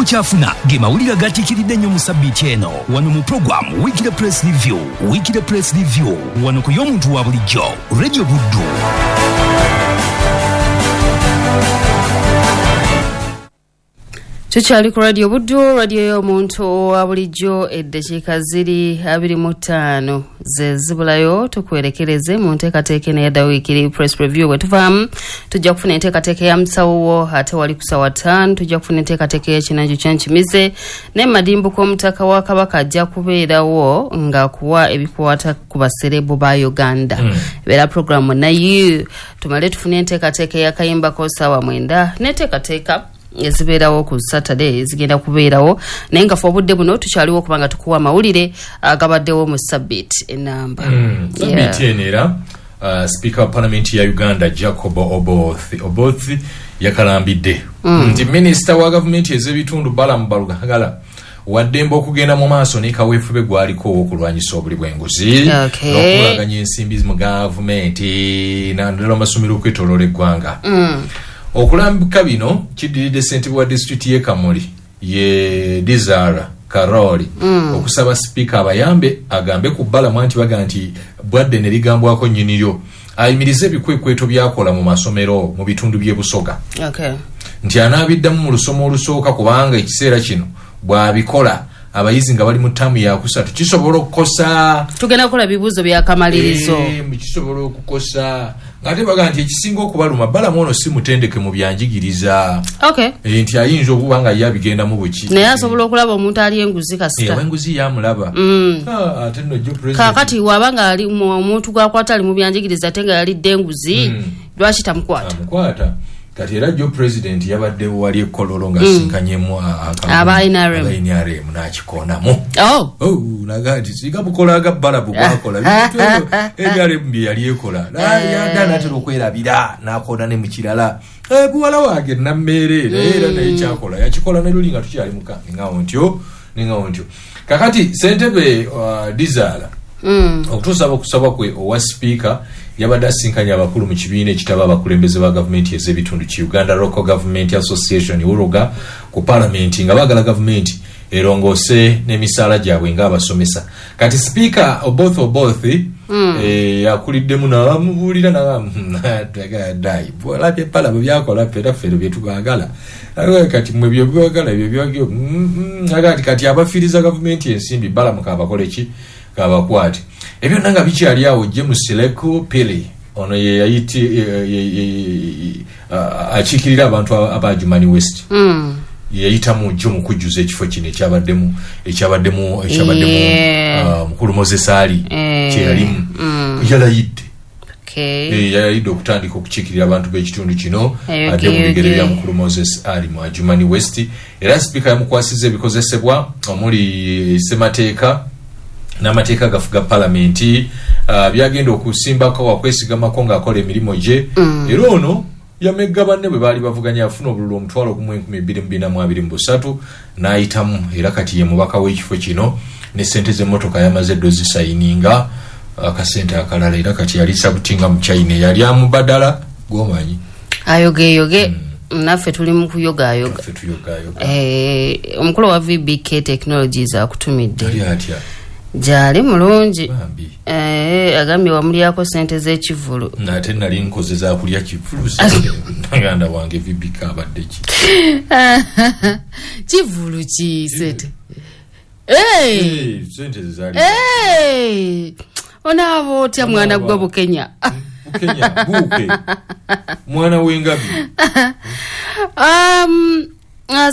Ky'okyafuna ge mawulire agatiikiridde ennyo mu sabbiiti eno wano mu program Weekly Press Review. Weekly Press Review wano ku y'omuntu wa bulijjo, Radio Buddu. Tukyali ku Radio Buddu, radio y'omuntu wa bulijjo. Eddakiika ziri 25 ze zibulayo tukwerekereze mu nteekateeka eno eyadda Weekly Press Review. Bwe tuvaamu tujja kufuna enteekateeka ya musawo, ate wali ku ssaawa 5 tujja kufuna enteekateeka y'ekinanjo kyankimize, ne madimbu k'omutaka wa Kabaka ajja kubeerawo ng'akuwa ebikwata ku baserebu ba Uganda. Ebeera programu naye tumale tufune enteekateeka ey'akayimbako ssaawa 9 n'enteekateeka ezibeerawo ku Saturday zigenda kubeerawo, naye nga fe obudde buno tukyaliwo okubanga tukuwa amawulire agabaddewo mu sabbiiti enamba. Sabbiiti eno era Speaker wa Parliament ya Uganda Jacob Oboth yakalambidde nti minisita wa gavumenti ez'ebitundu Balaam Barugahara waddembe okugenda mu maaso ne kaweefube gwaliko ow'okulwanyisa obuli bw'enguzi n'okukulaganya ensimbi mu gavumenti naddala amasomero okwetooloola eggwanga. Okulambika bino kiddiridde ssentebe wa disitulikiti y'e Kamuli ye Dizara Karoli okusaba sipiika abayambe agambe ku Balaam nti baga nti bwadde ne ligambwako nnyiniryo ayimirize ebikwekweto byakola mu masomero mu bitundu by'e Busoga. Nti anaabiddamu mu lusoma olusooka kubanga ekiseera kino bw'abikola abayizi nga bali mu ttaamu yakusatu kisobola okukosa. Tugenda kukola bibuuzo byakamalirizo. Kisobola okukosa. Ng'ate baga nti ekisinga okubaluma Balaam ono si mutendeke mu byanjigiriza. Nti ayinza okuba nga ye abigendamu buki. Naye asobola okulaba omuntu ali enguzi kasita. Enguzi yamulaba. Ate nno jjo president. Kaakati waba nga ali omuntu gw'akwata ali mu byanjigiriza ate nga yalidde enguzi, lwaki tamukwata? Amukwata. Kati era jjo president yabadde wali e Kololo ng'asinkanyemu aba NRM n'akikoonamu. Naga nti singa bukola aga Balaam bwakola NRM bye yali ekola yadda n'atera okwerabira n'akoona ne mu kirala. Buwala wange Nammeere era naye kyakola yakikola ne luli nga tukyali muka ningawo ntyo. Kakati ssentebe Dizala okutuusa okusaba kwe owa sipiika yabadde asinkanye abakulu mu kibiina ekitaba abakulembeze ba gavumenti ez'ebitundu ki Uganda Local Government Association ULGA ku palamenti nga baagala gavumenti erongoose n'emisaala gyabwe ng'abasomesa. Kati sipiika Oboth yakuliddemu n'amubuulira dai olabye Balaam byakola ffe era ffe bye tubaagala. Kati mmwe bye byagala ebyo byagala kati abafiiriza gavumenti ensimbi Balaam kabakole ki kabakwate. Ebyo nanga bikyali awo James Leku Pili ono ye yayiti akiikirira abantu aba Adjumani West yayitamu jjo mu kujjuza ekifo kino ekyabaddemu mukulu Moses Ali kye yalimu yalayidde. Yalayidde okutandika okukiikirira abantu b'ekitundu kino adde mu bigere bya mukulu Moses Ali mu Adjumani West. Era sipiika yamukwasizza ebikozesebwa omuli ssemateeka n'amateeka gafuga palamenti byagenda okusimbako wakwesigamako ng'akola emirimu gye. Era ono yamegga banne bwe baali bavuganya afuna obululu 1,223 n'ayitamu era kati ye mubaka w'ekifo kino ne ssente z'emmotoka yamaze ddo zisayininga akasente akalala era kati yali sabutinga mu China yali amubadala gw'omanyi ayogeyoge. Naffe tuli mu kuyogayoga. Omukulu wa VBK Technologies akutumidde. Gyali mulungi. Agambye wamulyako sente z'ekivulu. Ate nali nkoze za kulya kivulu naganda wange VBK abadde ki? Kivulu ki sente? Sente zezaali. Onaaba otya mwana gwe Bukenya? Bukenya buuke mwana w'engabi.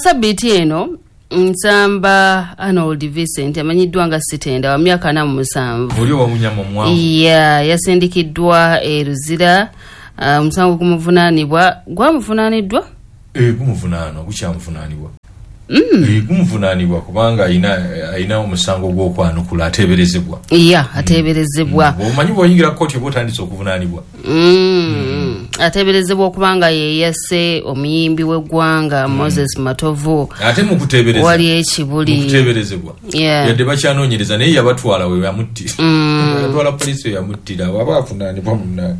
Sabbiiti eno Nsamba Arnold Vincent amanyiddwa nga Sitenda wa myaka 47. Oli owa munyama mwangu. Yasindikiddwa e Luzira. Omusango gumuvunaanibwa gwamuvunaaniddwa? Gumuvunaanwa gukyamuvunaanibwa. Gumuvunaanibwa kubanga ayina omusango gw'okwanukula ateeberezebwa. Ateeberezebwa. Omanyi bw'oyingira kkooti oba otandise okuvunaanibwa. Ateeberezebwa okubanga ye yasse omuyimbi w'eggwanga Moses Matovu. Ate mu kuteebereza wali ekibuli. Mu kuteeberezebwa. Yadde bakyanoonyereza naye yabatwala we yamuttira. Yatwala poliisi we yamuttira waba avunaanibwa munnange.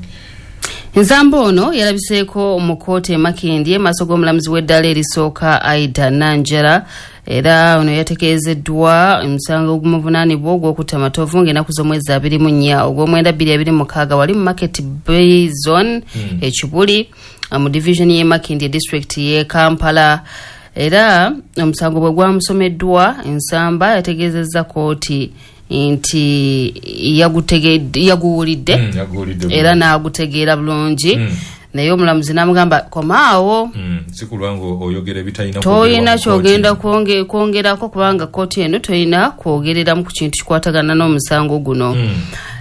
Nsamba ono yalabiseeko mu kkooti e Makindye maaso g'omulamuzi w'eddaala erisooka Aida Nanjala, era ono yategeezeddwa omusango ogumuvunaanibwa ogw'okutta Matovu ng'ennaku z'omwezi 24 ogw'omwenda 2026 wali mu Market Bay Zone e Kibuli mu division y'e Makindye district y'e Kampala. Era omusango bwe gwamusomeddwa, Nsamba yategeezezza kkooti nti yaguwulidde era n'agutegeera bulungi, naye omulamuzi n'amugamba komaawo, toyina kyogenda kwongerako kubanga kkooti eno toyina kwogereramu ku kintu kikwatagana n'omusango guno.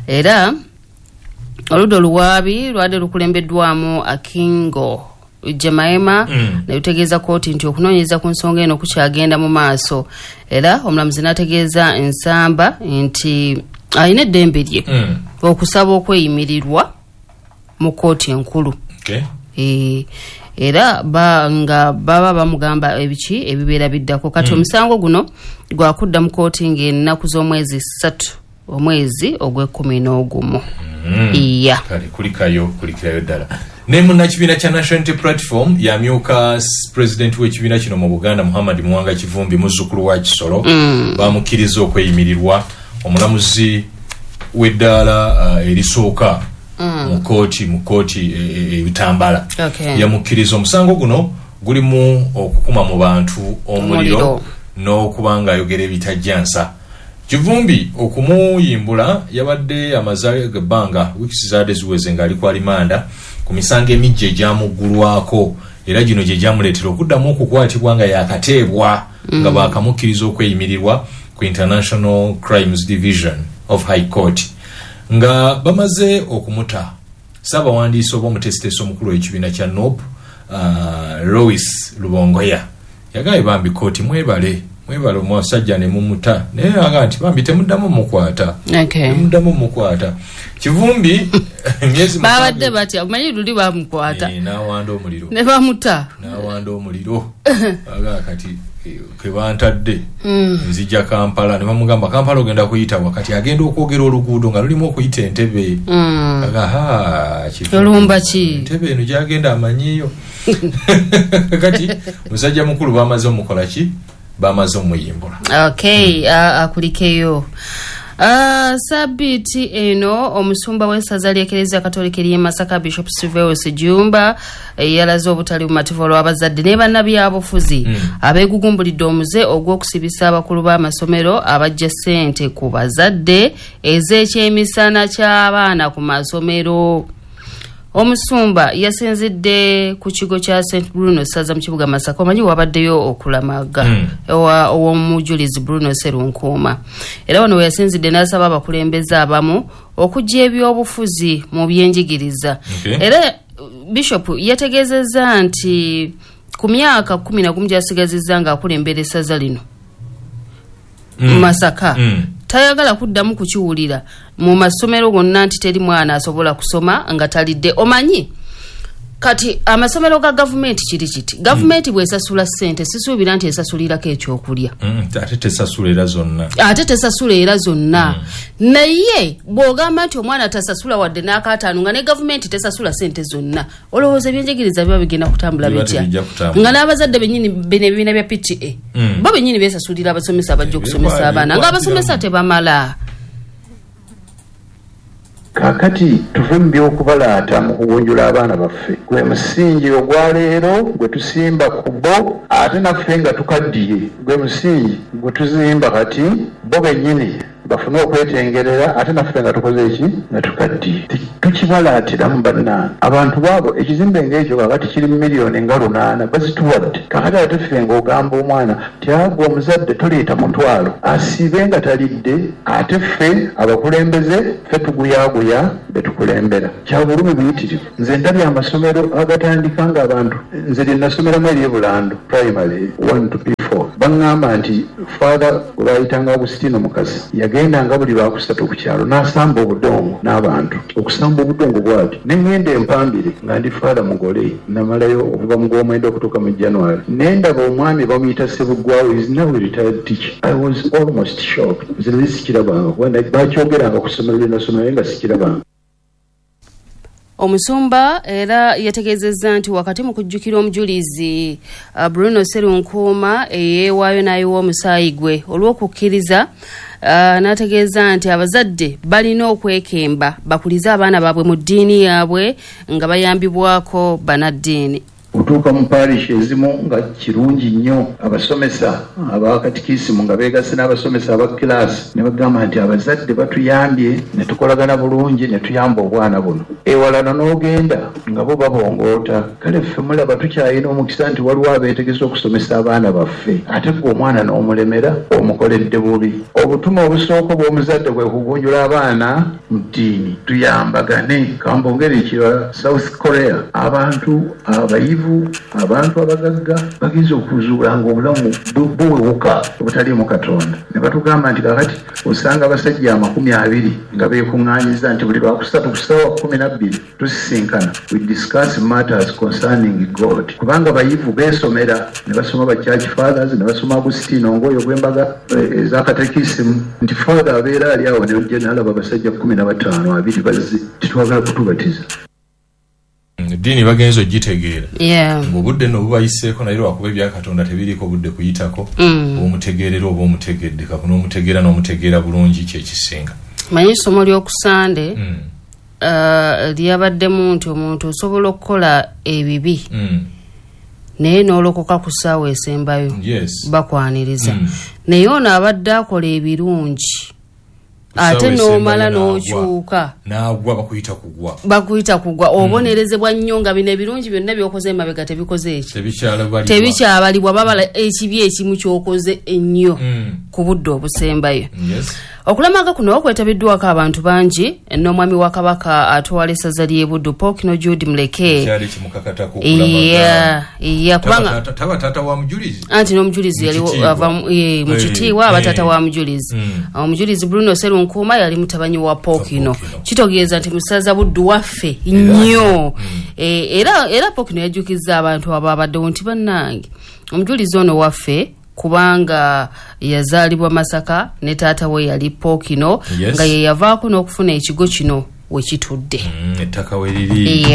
Era oludda oluwaabi lwadde lukulembeddwamu Akingo Jemaema, ne lutegeeza kkooti nti okunoonyereza ku nsonga eno kukyagenda mu maaso. Era omulamuzi n'ategeeza Nsamba nti alina eddembe lye okusaba okweyimirirwa mu kkooti enkulu. Era nga baba bamugamba ebiki ebibeera biddako. Kati omusango guno gwakudda mu kkooti ng'ennaku z'omwezi 3 omwezi ogw'e11. Iya. Kale kulikayo kulikirayo ddala. Ne munnakibiina kya National Unity Platform yamyuka president w'ekibiina kino mu Buganda Muhammad Muwanga Kivumbi, muzzukulu wa Kisolo, bamukkiriza okweyimirirwa omulamuzi w'eddaala erisooka mu kkooti ebitambala. Yamukkiriza. Omusango guno gulimu okukuma mu bantu omuliro n'okuba ng'ayogera ebitajjansa. Kivumbi okumuyimbula yabadde amaze ebbanga wiiki zaadde ziweze ng'ali ku alimanda ku misango emijja egyamuggulwako, era gino gye gyamuleetera okuddamu okukwatibwa nga yakateebwa nga baakamukkiriza okweyimirirwa ku International Crimes Division of High Court nga bamaze okumuta. Ssaabawandiisi oba omutesiteesi omukulu w'ekibiina kya NOP Lois Lubongoya yagambye bambi kkooti mwebale omusajja ne mumuta, naye agamba nti bambi temuddamu mukwata. Temuddamu mukwata. Kivumbi emyezi babadde batya, omanyi luli bamukwata n'awanda omuliro ne bamuta, n'awanda omuliro aga kati kebantadde nzija Kampala, ne bamugamba Kampala ogenda kuyita wakati agenda okwogera oluguudo nga lulimu okuyita Entebbe. Aga ha olumba ki Entebbe eno gyagenda amanyiyo. Kati musajja mukulu bamaze omukola ki, bamaze omuyimbula. Akulikeyo. Sabiti eno omusumba w'essaza ly'Ekereziya Katolika ery'e Masaka Bishop Silverius Jumba yalaze obutali bumativu olw'abazadde ne bannabyabufuzi abeegugumbulidde omuze ogw'okusibisa abakulu b'amasomero abajja ssente ku bazadde ez'ekyemisana ky'abaana ku masomero. Omusumba yasinzidde ku kigo kya St Bruno Ssaza mu kibuga Masaka, omanyi wabaddeyo okulamaga ow'omujulizi Bruno Serunkuuma. Era wano we yasinzidde n'asaba abakulembeze abamu okuggya ebyobufuzi mu byenjigiriza. Era Bishop yategeezezza nti ku myaka 11 gy'asigazizza ng'akulembera essaza lino Masaka, tayagala kuddamu kukiwulira mu masomero gonna nti teri mwana asobola kusoma nga talidde. Omanyi kati amasomero ga gavumenti kiri kiti, gavumenti bw'esasula ssente sisuubira nti esasulirako ekyokulya. Ate tesasula era zonna. Ate tesasula era zonna. Naye bw'ogamba nti omwana tasasula wadde n'akataano nga ne gavumenti tesasula ssente zonna, olowooza ebyenjigiriza biba bigenda kutambula bitya? Nga n'abazadde bennyini bino ebibiina bya PTA bo bennyini beesasulira abasomesa abajja okusomesa abaana, ng'abasomesa tebamala. Kaakati tuve mu by'okubalaata mu kugunjula abaana baffe. Gwe musingi ogwaleero gwe tusimba ku bo, ate naffe nga tukaddiye. Gwe musingi gwe tuzimba kati bo bennyini bafune okwetengerera, ate naffe nga tukoze eki nga tukaddiye. Tukibalaatiramu bannange. Abantu baabo ekizimbe ng'ekyo kaakati kiri miliyoni nga 8 bazituwadde. Kaakati ate ffe ng'ogamba omwana nti agwe omuzadde toleeta mutwalo asiibe nga talidde, ate ffe abakulembeze ffe tuguyaaguya be tukulembera. Kya bulumi buyitirivu. Nze ndabye amasomero agatandika ng'abantu, nze lye nasomeramu ery'e Bulando primary 1 to P4, baŋŋamba nti Father gwe baayitanga Agustino Mukasa yagendanga buli lwakusatu ku kyalo n'asamba obudongo n'abantu, okusamba obudongo bw'ati. Ne ŋŋenda empambire nga ndi Father mugole, namalayo okuva mu gw'omwenda okutuuka mu January. Ne ndaba omwami bamuyita Ssebuggwawo, is now a retired teacher. I was almost shocked. Nze nali sikirabanga kuba bakyogeranga ku ssomero lye nasomera naye nga sikirabanga. Omusumba era yategeezezza nti wakati mu kujjukira omujulizi Bruno Serunkuuma eyeewaayo n'ayiwa omusaayi gwe olw'okukkiriza, n'ategeeza nti abazadde balina okwekemba bakulize abaana baabwe mu ddiini yaabwe nga bayambibwako bannaddiini. Otuuka mu parish ezimu nga kirungi nnyo abasomesa abakatikisimu nga beegasse n'abasomesa aba kilaasi ne bagamba nti abazadde batuyambye ne tukolagana bulungi ne tuyamba obwana buno. Ewalala n'ogenda nga bo babongoota. Kale ffe mulaba tukyalina omukisa nti waliwo abeetegese okusomesa abaana baffe, ate gwe omwana n'omulemera omukoledde bubi. Obutume obusooka bw'omuzadde bwe kugunjula abaana mu ddiini, tuyambagane. Kambongere ekirala, South Korea abantu abayivu, abantu abagagga bagenze okuzuula ng'obulamu buwewuka obutaliimu Katonda. Ne batugamba nti kakati osanga abasajja 20 nga beekuŋŋaanyiza nti buli Lwakusatu ku ssaawa 12 tusisinkana, we discuss matters concerning God. Kubanga bayivu beesomera ne basoma ba church fathers ne basoma Agustino ng'oyo gw'embaga ez'akatekisimu nti father abeera ali awo ne n'alaba abasajja 15 abiri bazze titwagala kutubatiza. Eddiini bagenze ogitegeera ng'obudde nno bubayiseeko, naye lwakuba ebya Katonda tebiriiko budde kuyitako. Omutegeerera oba omutegedde kakuno omutegeera n'omutegeera bulungi kyekisinga. Manyi essomo ly'okusande lyabaddemu nti omuntu osobola okukola ebibi naye n'olokoka ku ssaawa esembayo, bakwaniriza. Naye ono abadde akola ebirungi ate n'omala n'okyuka n'agwa, bakuyita kugwa, bakuyita kugwa. Obonerezebwa nnyo nga bino ebirungi byonna by'okoze emabega tebikoze eki, tebikyabalibwa, babala ekibi ekimu ky'okoze ennyo ku budde obusembayo. Okulamaga kuno okwetabiddwako abantu bangi n'omwami wa Kabaka atwala essaza ly'e Buddu Ppookino Jude Muleke. Kyali kimukakatako okulamaga. Kubanga taba taata wa mujulizi, anti n'omujulizi yali ava mu kitiibwa aba taata wa mujulizi. Omujulizi Bruno Serunkuuma yali mutabanyi wa Ppookino, kitegeeza nti musaza Buddu waffe nnyo. Era Ppookino yajjukizza abantu ababaddewo nti bannange omujulizi ono waffe kubanga yazaalibwa Masaka ne taata we yali Ppookino, nga ye yavaako n'okufuna ekigo kino we kitudde, ettaka we liri.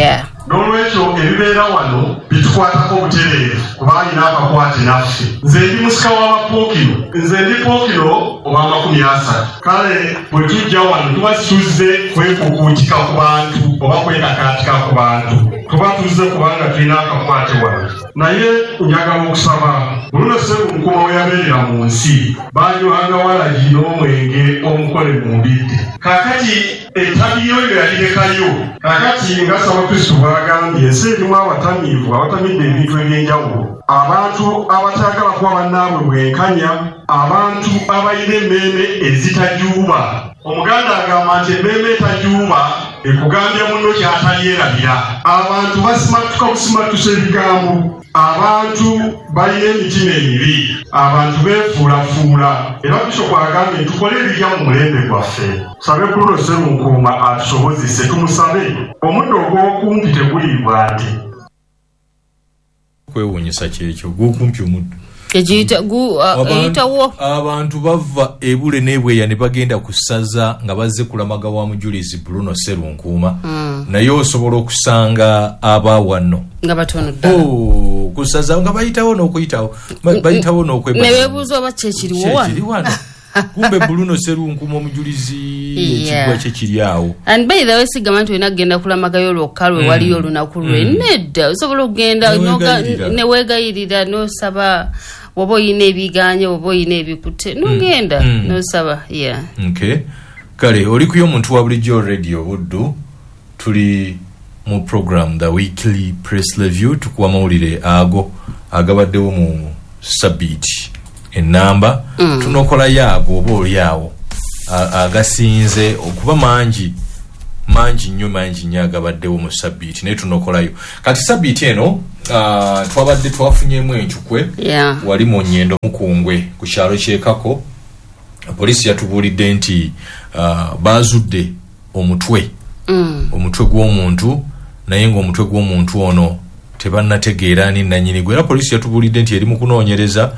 N'olwekyo ebibeera wano bitukwatako obutereevu kuba alina akakwate naffe. Nze ndi musika w'Abappookino, nze ndi Ppookino owa 30. Kale bwe tujja wano tuba tuzze kwekukuutika ku bantu oba kwekakaatika ku bantu, tuba tuzze kubanga tulina akakwate wano. Naye njagala okusaba Bruno Serunkuuma we yabeerera mu nsi banywanga walagi n'omwenge omukole mu mbidde. Kaakati ettabi yoyo yalirekayo. Kaakati nga Ssabakristu bw'agambye, ensi erimu abatamiivu abatamidde ebintu eby'enjawulo, abantu abatayagala kuba bannaabwe bwenkanya, abantu abalina emmeeme ezitajuuba. Omuganda agamba nti emmeeme etajuuba ekugambya munno ky'atalyerabira. Abantu basimatuka busimatusa ebigambo, abantu balina emitima emibi, abantu beefuulafuula. Era Bishopu agambye tukole ebirya mu mulembe gwaffe. Tusabe Bruno Serunkuuma atusobozese, tumusabe. Omuddo ogw'okumpi teguliibwa nte. Kwewuunyisa kyekyo gw'okumpi omuddo eyitawo. Abantu bava ebule n'ebweya ne bagenda ku ssaza nga bazze kulamaga wa mujulizi Bruno Serunkuuma, naye osobola okusanga abawano nga batono ddala ku ssaza nga bayitawo n'okuyitawo, bayitawo n'okwebala, ne beebuuza oba kyekiriwo wano. Kumbe Bruno Serunkuuma omujulizi ekigwa kye kiri awo. And by the way, sigamba nti olina kugenda kulamagayo lwokka lwe waliyo olunaku lwe, nedda. Osobola okugenda ne weegayirira n'osaba, oba oyina ebiganye oba oyina ebikutte n'ogenda n'osaba. Kale oli ku y'omuntu wa bulijjo Radio Buddu, tuli mu program The Weekly Press Review, tukuwa mawulire ago agabaddewo mu sabbiiti enamba. Tunokolayo ago oba oli awo agasinze okuba mangi mangi nnyo, mangi nnyo agabaddewo mu sabbiiti, naye tunokolayo. Kati sabbiiti eno twabadde twafunyemu encukwe wali mu Nyendo Mukungwe ku kyalo ky'Ekako. Poliisi yatubuulidde nti baazudde omutwe omutwe gw'omuntu, naye ng'omutwe gw'omuntu ono tebannategeera ani nannyini gwe. Era poliisi yatubuulidde nti eri mu kunoonyereza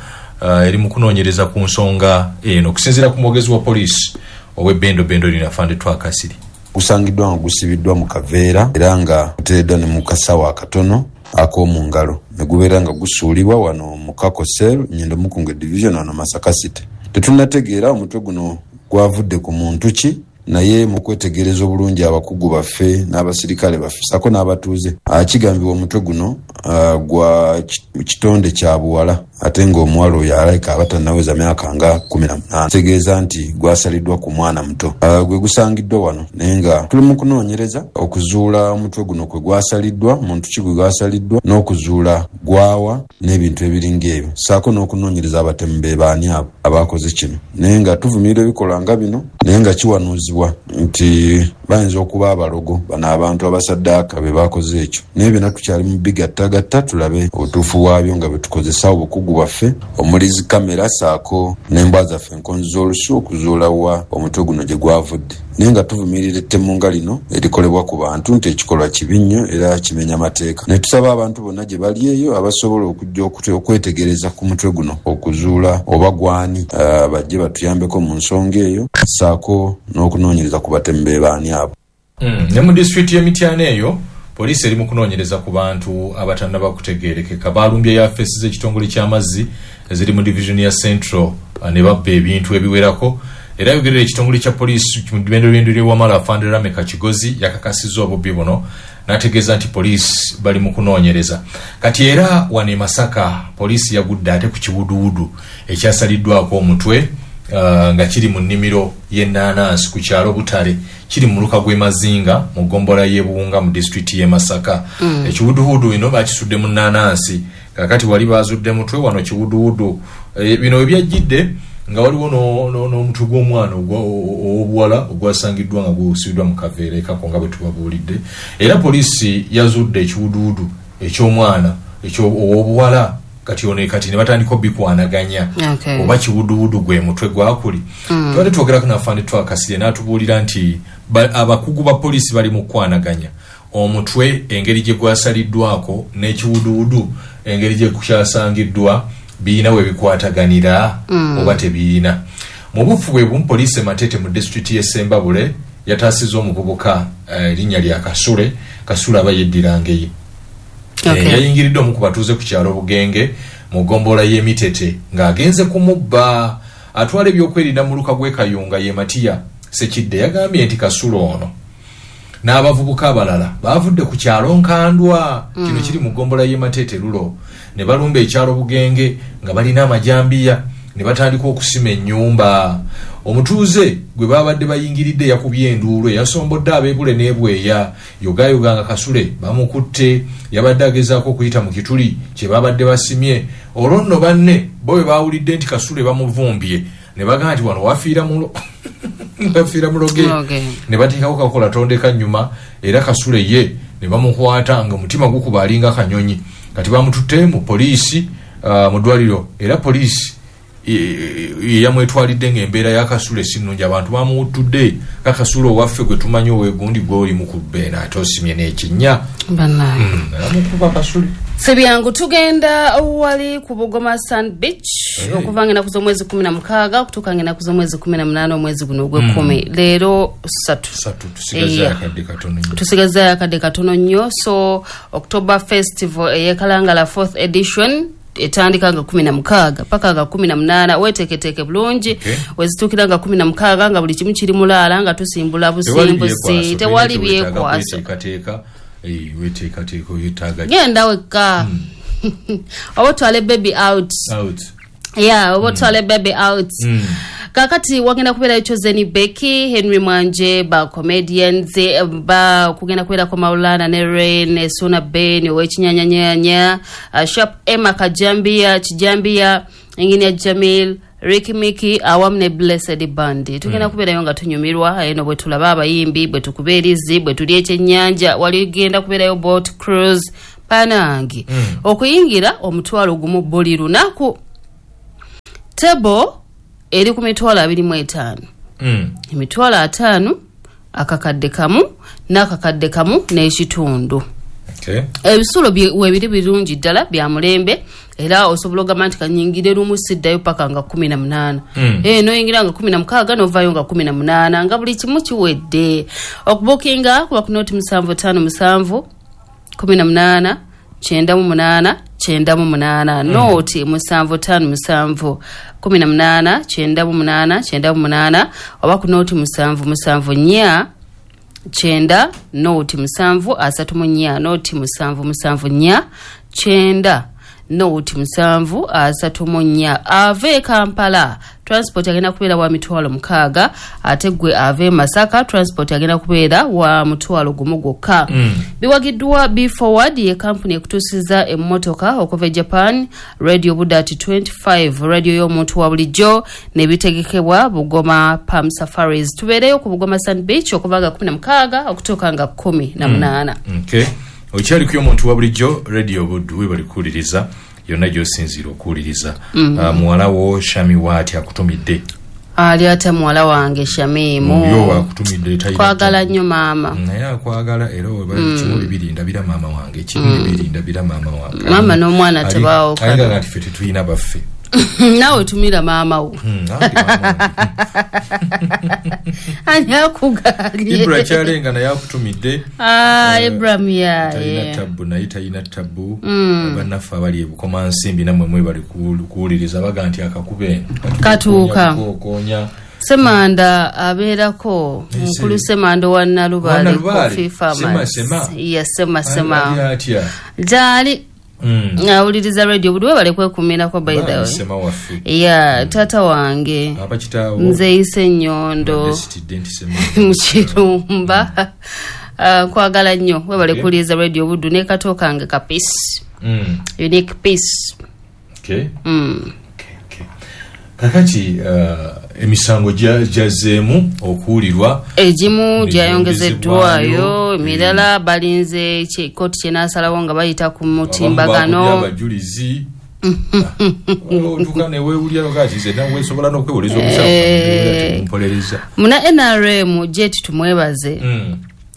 ku nsonga eno. Okusinziira ku mwogezi wa poliisi ow'e Bendo Bendo Lina Afande Twakasiri. Gusangiddwa nga gusibiddwa mu kaveera era nga guteereddwa ne mu kasawo akatono ak'omu ngalo ne gubeera nga gusuulibwa wano mu Kako Cell, Nyendo Mukunge Division wano Masaka City. Tetunnategeera omutwe guno gwavudde ku muntu ki, naye mu kwetegereza obulungi abakugu baffe n'abasirikale baffe ssaako n'abatuuze, kigambibwa omutwe guno gwa kitonde kya buwala ate ng'omuwala oyo alabika aba tannaweza myaka nga 18, kitegeeza nti gwasaliddwa ku mwana muto. Gwe gusangiddwa wano, naye nga tuli mu kunoonyereza okuzuula omutwe guno kwe gwasaliddwa, muntu ki gwe gwasaliddwa, n'okuzuula gwawa n'ebintu ebiringa ebyo, ssaako n'okunoonyereza abatemu be baani abo abakoze kino. Naye nga tuvumirira ebikolwa nga bino, naye nga kiwanuuzibwa nti bayinza okuba abalogo bano abantu abasaddaaka be bakoze ekyo, naye byonna tukyali mu bigattagatta tulabe obutuufu bwabyo nga bwe tukozesa obukugu bwaffe omuli zi kamera ssaako n'embwa zaffe enkonzi z'olusu okuzuula wa omutwe guno gye gwavudde. Naye nga tuvumirira ettemu nga lino erikolebwa ku bantu nti ekikolwa kibi nnyo era kimenya mateeka, ne tusaba abantu bonna gye bali eyo abasobola okujja okwetegereza ku mutwe guno okuzuula oba gwani, bajje batuyambeko mu nsonga eyo ssaako n'okunoonyereza ku batemu be baani abo. Ne mu disitulikiti y'e Mityana eyo poliisi eri mu kunoonyereza ku bantu abatannaba kutegeerekeka. Balumbye yafeesi z'ekitongole ky'amazzi eziri mu divizoni ya Central ne babba ebintu ebiwerako. Era ayogerera ekitongole kya poliisi mu ddwendolwendo ly'e Wamala, Afande Rameka Kigozi, yakakasizza obubbi buno n'ategeeza nti poliisi bali mu kunoonyereza. Kati era wano e Masaka poliisi yagudde ate ku kiwuduwudu ekyasaliddwako omutwe nga kiri mu nnimiro y'ennaanansi ku kyalo Butale, kiri mu muluka gw'e Mazinga mu ggombolola y'e Buwunga mu disitulikiti y'e Masaka. Ekiwuduwudu bino bakisudde mu nnaanansi, kaakati wali baazudde mutwe, wano kiwuduwudu. Bino we byajjidde nga waliwo n'omutwe gw'omwana ow'obuwala ogwasangiddwa nga gusibiddwa mu kaveera ekako nga bwe tubabuulidde. Era poliisi yazudde ekiwuduwudu eky'omwana ow'obuwala, kati ono kati ne batandika obikwanaganya oba kiwuduwudu gwe mutwe gwakuli. Tubadde twogerako n'afande Twakasirye n'atubuulira nti abakugu ba poliisi bali mu kukwanaganya omutwe engeri gye gwasaliddwako n'ekiwuduwudu engeri gye kyasangiddwa birina we bikwataganira oba tebirina. Mu bufu bwe bumu poliisi e Matete mu disitulikiti y'e Ssembabule yataasizza omuvubuka erinnya lya Kasule. Kasule aba yeddira Ngeye. Yayingiridde omu ku batuuze ku kyalo Bugenge mu ggombolola y'e Mitete ng'agenze kumubba. Atwala ebyokwerinda mu muluka gw'e Kayunga ye Matiya Sekidde yagambye nti Kasule ono n'abavubuka abalala baavudde ku kyalo Nkandwa, kino kiri mu ggombolola y'e Matete Lulo, ne balumba ekyalo Bugenge nga balina amajambiya ne batandika okusima ennyumba. Omutuuze gwe babadde bayingiridde yakubye enduulu eyasombodde ab'ebule n'ebweya, yogayoga nga Kasule bamukutte, yabadde agezaako okuyita mu kituli kye babadde basimye. Olwo nno banne bo bwe baawulidde nti Kasule bamuvumbye ne bagamba nti wano wafiira muloge, ne bateekako kakola tondeka nnyuma, era Kasule ye ne bamukwata nga omutima gukuba alinga kanyonyi. Kati bamututte mu poliisi mu ddwaliro, era poliisi yamwetwalidde ng'embeera ya Kasule si nnungi. Abantu bamuwuttudde kakasule owaffe gwe tumanyi owegundi gw'oli mu kubbeena ate osimye n'ekinnya. Amukuba Kasule. Si byangu. Tugenda wali ku Bugoma Sand Beach okuva ng'ennaku z'omwezi 16 okutuuka ng'ennaku z'omwezi 18 omwezi guno ogw'ekkumi. Leero 3. Tusigazaayo akadde katono nnyo. So October Festival ey'e Kalangala 4th edition etandika nga 16 paka nga 18. Weeteeketeeke bulungi. Wezituukira nga 16 nga buli kimu kiri mulaala, nga tusimbula busimbuzi, tewali byekwaso. Genda wekka oba otwale baby out. Yeah, oba otwale baby out. Kakati wagenda kubeerayo Chosen Becky, Henry Mwanje, ba comedians, ba kugenda kubeerako Maulana ne Rain, Suna Ben ow'ekinyanyanyanya, Sharp Emma Kajambia, Kijambia, Engineer Jamil, Ricky Mickey awamu ne Blessed Band. Tugenda kubeerayo nga tunyumirwa eno bwe tulaba abayimbi, bwe tukuba erizi, bwe tulya ekyennyanja. Wali genda kubeerayo boat cruise panange. Okuyingira 1,000 buli lunaku. Table eri ku 25,000. 50,000, 1,000 n'akakadde kamu n'ekitundu. Ebisulo webiri birungi ddala bya mulembe, era osobola ogamba nti kanyingire lumu siddayo paka nga 18. Noyingira nga 16 novaayo nga 18 nga buli kimu kiwedde. Okubukinga kuba ku noti 757 18 98 98, noti 757 18 98 98, oba ku noti 774 9 noti 734, noti 774 9 noti 734. Ave Kampala transport agenda kubeera wa 6,000, ate gwe ave Masaka transport agenda kubeera wa 1,000 gwokka. Biwagiddwa Be Forward ye kampuni ekutuusiza emmotoka okuva e Japan, Radio Budati 25, radio y'omuntu wa bulijjo, nebitegekebwa Bugoma Palm Safaris. Tubeereyo ku Bugoma Sand Beach okuva nga 16 okutuuka nga 18. Okay. Okyali ku y'omuntu wa bulijjo Radio Buddu, webali kuwuliriza yonna gy'osinziira okuwuliriza. Muwala wo Shami waati akutumidde? Ali ate muwala wange Shamimu. Yo akutumidde, talina Kwagala nnyo maama. Naye akwagala, era webali kimu bibiri ndabira maama wange, kimu bibiri ndabira maama wange. Maama n'omwana tebaawukana. Alinga nti ffe tetulina baffe. Naawe tumira maama wo. Nange maama wange. Ani akugaanye? Ibra Kyalenga naye akutumidde. Ibrahim Talina yaye. tabbu, naye talina tabbu. Bannaffe abali e Bukomansimbi nammwe mwebali kuwuliriza, baga nti akakube Katuuka. Koonya. Semanda abeerako mukulu Semanda wa Nalubaale, Nalubaale. Coffee Farmers. Sema, sema. Ya sema sema. Ali atya? Gyali awuliriza radio Buddu, webale kwekuumirako by the way. Sema waffe. Ya taata wange Abakitaawo. Nze Nnyondo Ndesitidde nti Sema. mu Kirumba. Nkwagala nnyo, webale kuwuliriza radio Buddu ne kato kange ka peace. Unique peace. Okay. Okay. Kakati emisango gyazzeemu okuwulirwa, Egimu Ne gyayongezeddwayo, gyongezebwayo, emirala balinze kooti kyenaasalawo nga bayita ku abamu mutimbagano. bakubye abajulizi. Otuuka neweewulira kati nze nawe nsobola n'okwewuliriza omusango mpolereza. Muna NRM Jet tumwebaze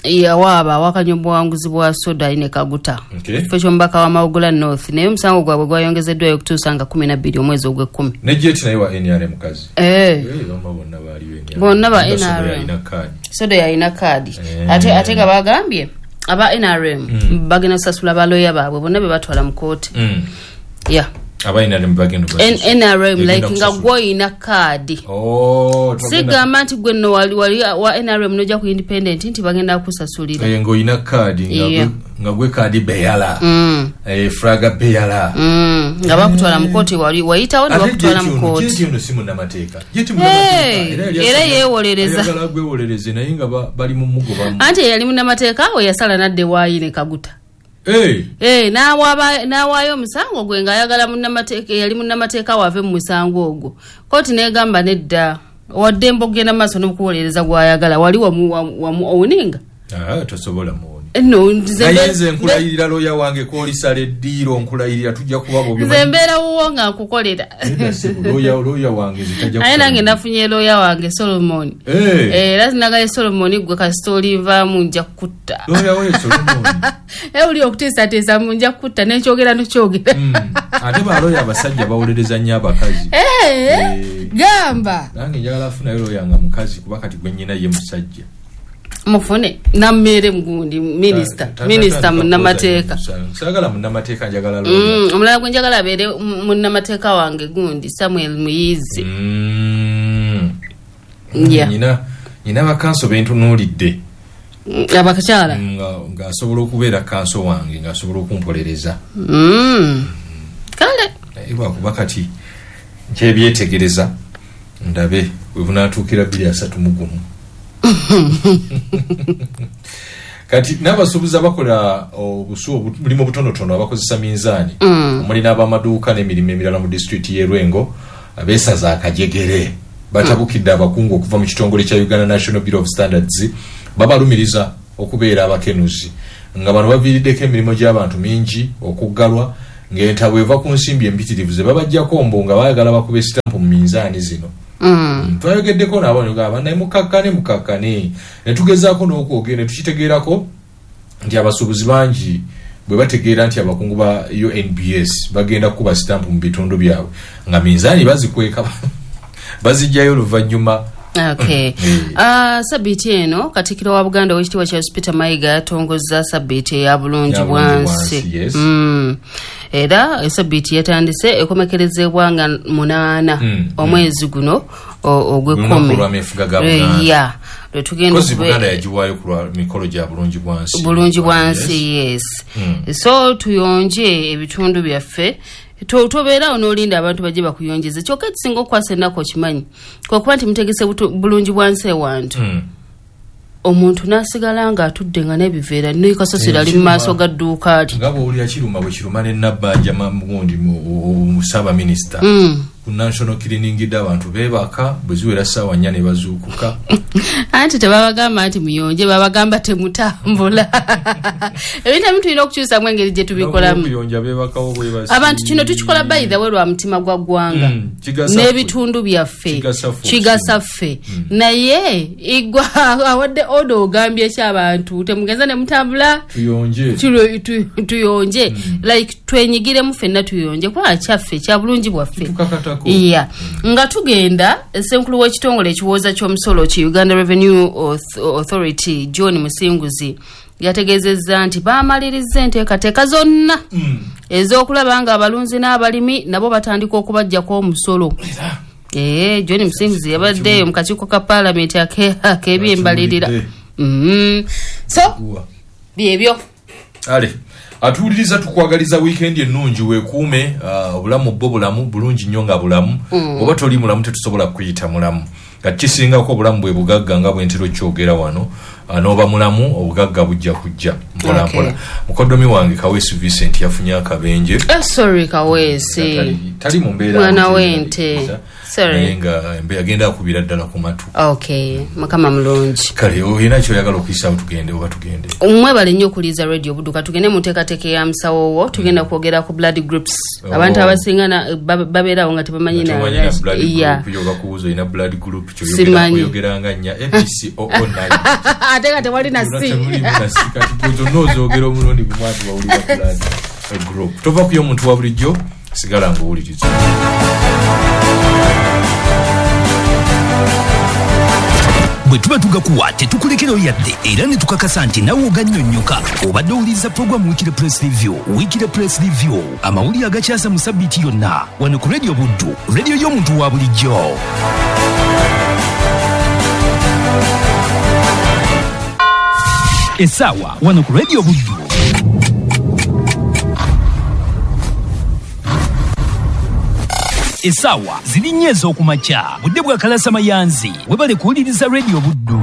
yawaaba awakanya obuwanguzi bwa Soda Ine Kaguta kifo ky'omubaka wa Mawugula North, naye omusango gwabwe gwayongezeddwayo okutuusa nga 12 omwezi ogw'ekkumi. Ne Jet naye wa NRM mukazi. Bama bonna baaliyo NRM. Bonna ba Nga Soda NRM. yalina kaadi. Soda yalina kaadi. Ate nga bagambye aba NRM bagenda kusasula baloya baabwe bonna be batwala mu kooti. Yeah. Aba NRM bagenda kubasasula. NRM Egenda like nga kusasula. gwoyina kaadi. Oh, togenda- Sigamba nti gwe nno wali wa NRM nojja ku independent nti bagenda kusasulira. Ng'olina kaadi Yeah. nga gwe kaadi beyala. Fraga beyala. Nga bakutwala mu kooti, wali wayitawo ne Ate bakutwala mu Jet ono- kooti. Jet ono si munnamateeka. Jet munnamateeka. Hey, Era yali era asaba- yeewolereza. ayagala gwewolereze naye nga bali mu mugobamu. Anti eyali munnamateeka we yasala n'adda ewaayi ne Kaguta. N'awaayo omusango gwe ng'ayagala munnamateeka eyali munnamateeka wave mu musango ogwo. Kooti n'egamba nedda, waddembe okugenda mu maaso n'okuwolereza gw'ayagala, wali wamu owuninga. Tosobola muwoni. No, nze Naye nze nkulayirira looya wange k'olisala eddiiro, nkulayirira tujja kuba bobi. Nze mbeera wuwo nga nkukolera. Nedda ssebo, looya wange nze tajja Naye nange kusala. nafunye looya wange Solomon. Era sinagaye Solomon gwe kasita olivaamu nja kukutta. Looya we Solomon. Oli okutiisatiisa mu nja kukutta n'ekyogera nokyogera. Ate balooya abasajja bawolereza nnyo abakazi. Gamba. Nange njagala afunayo looya nga mukazi kuba kati gwe nnyina ye musajja. Mufune nammeere mugundi minisita, minisita munnamateeka. Saagala munnamateeka, njagala looya. Omulala gwe njagala abeere munnamateeka wange gundi Samuel Muyizi. Yeah. Nyina bakanso bentunuulidde. Abakyala. Ng'asobola okubeera kanso wange, ng'asobola okumpolereza. Kale. Naye lwakuba kati nkyebyetegereza ndabe we bunaatuukira 2031. Kati n'abasuubuzi abakola obulimu obutonotono abakozesa minzaani, omuli n'abamaduuka n'emirimu emirala mu disitulikiti y'e Lwengo, abeesaza akajegere batabukidde abakungu okuva mu kitongole kya Uganda National Bureau of Standards, babalumiriza okubeera abakenuzi, nga bano baviiriddeko emirimu gy'abantu mingi okuggalwa, ng'entabwe eva ku nsimbi empitirivu ze babaggyako mbu nga baagala bakube sitampu mu minzaani zino. Twayogeddeko nabo ne gamba naye mukakkane, mukakkane, ne tugezaako n'okwogera ne tukitegeerako nti abasuubuzi bangi Bwe bategeera nti abakungu ba UNBS bagenda kukuba sitampu mu bitundu byabwe, nga minzaani bazikweka, bazijjayo oluvannyuma. Okay. Sabbiiti eno Katikkiro wa Buganda ow'ekitiibwa Charles Peter Mayiga yatongozza sabbiiti eya bulungi Ya bulungi bwansi. bwansi, yes. Era esabbiiti yatandise ekomekerezebwa nga 8 omwezi guno ogw'ekkumi. Olunaku lw'ameefuga ga Buganda. Ya, lwe tugenda Kozi Buganda yagiwaayo ku lwa mikolo gya bulungi bwansi. Bulungi bwansi, yes. So tuyonje ebitundu byaffe. Tobeerawo n'olinda abantu bajje bakuyonjeze. Kyokka ekisinga okukwasa ennaku okimanyi kwe kuba nti mutegese bulungi bwansi ewantu, omuntu n'asigala ng'atudde nga n'ebiveera nekasasiro ali mu maaso ga dduuka lye. Nga bw'owulira kiruma bwe kiruma ne Nabbanja gundi mu ssaabaminisita ku national cleaning day, abantu beebaka, bwe ziwera ssaawa 4 ne bazuukuka. Anti tebabagamba nti muyonje, babagamba temutambula. Ebintu ebimu tulina okukyusamu engeri gye tubikolamu. Okuyonja beebakawo bwebasi. Abantu kino tukikola by the way lwa mutima gwa ggwanga Kigasa n'ebitundu byaffe. Kigasa ffe. Kigasa ffe. Naye igwa awadde oda, ogambye ki abantu? Temugenza ne mutambula. Tuyonje. Tuyonje, like twenyigiremu ffenna, tuyonje kubanga kyaffe, kya bulungi bwaffe. Tukakatako. Iya, nga tugenda, ssenkulu w'ekitongole ekiwooza ky'omusolo ki Uganda Revenue Authority John Musinguzi yategeezezza nti bamaliriza enteekateeka zonna ez'okulaba nga abalunzi n'abalimi nabo batandika okubajjako omusolo. Ee, John Musinguzi yabaddeeyo mu kakiiko ka paalamenti ak'ebyembalirira. So Uwa. byebyo. Ale atuwuliriza, tukwagaliza wiikendi ennungi. Weekuume. Obulamu bwo bulamu bulungi nnyo nga bulamu. Oba toli mulamu, tetusobola kuyita mulamu. Kati kisingako obulamu bwe bugagga, nga bwe ntera okyogera wano. N'oba mulamu, obugagga bujja kujja mpola mpola. Mukoddomi wange Kaweesi Vincent yafunye akabenje. Sorry Kaweesi. Tali mu mbeera Mwana w'ente. Sorry. Naye nga agenda akubira ddala ku matu. Okay, Mukama mulungi. Kale olina kyoyagala okuyisaawo tugende oba tugende? Mwebale nnyo okuliiza Radio Budduka. Tugende mu nteekateeka ya musawo wo. Tugenda kwogera ku blood groups. Oh. Abantu abasinga babeerawo nga tebamanyi na- Tomanyi na blood group yo, bakubuuza olina blood group kyoyogera Simanyi. kuyogeranga nnya ABCOO9. Ate nga tewali na C. Temulimu na C. Kati gwe zonna ozoogera omulundi gumu ati wawulira blood group. Tova kuyo omuntu wa bulijjo, sigala ng'owuliriza. Bwe tuba tugakuwa tetukulekerayo yadde, era ne tukakasa nti nawe ogannyonnyoka. Obadde owuliriza puroguramu Weekly Press Review. Weekly Press Review, amawulire agakyasa mu sabbiiti yonna, wano ku Radio Buddu, radio y'omuntu wa bulijjo. Essaawa wano ku Radio Buddu essaawa ziri 4 ez'okumakya, budde bwa kalasa mayanzi. Webale kuwuliriza Radio Buddu.